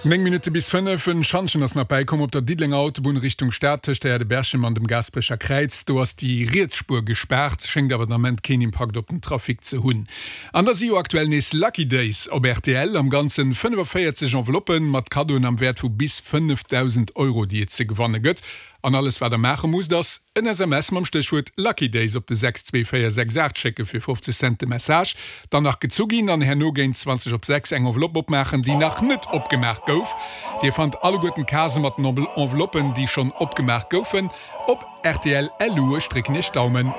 9 Minutte bis 5, En Schantjen ass nach bäikomm op der Diddelenger Autobunn Richtung Stad tëscht der Aire de Berchem an dem Gaasperecher Kräiz. Do ass déi riets Spuer gespaart, schéngt awer den Ament keen Impakt op den Trafic ze hunn. An da si jo aktuell nees Lucky Days op rtl. Am Ganzen 45 Enveloppen mat Kaddoen am Wäert vu bis 5.000 Euro, déi et ze gewanne gëtt. An alles wat der maache musst ass en SMS mam Stéchwuert Lucky Days op de 62468 schécke fir 50 Cent de Message, dann nach gezu ginn an herno géint 20 op 6 eng Enveloppe opmaachen déi nach net opgemaach gouf. Dir fannt alleguerten d'Casë mat den Enveloppen déi schonn opgemaach goufen op rtl.lu. Ech drécken iech d'Daumen.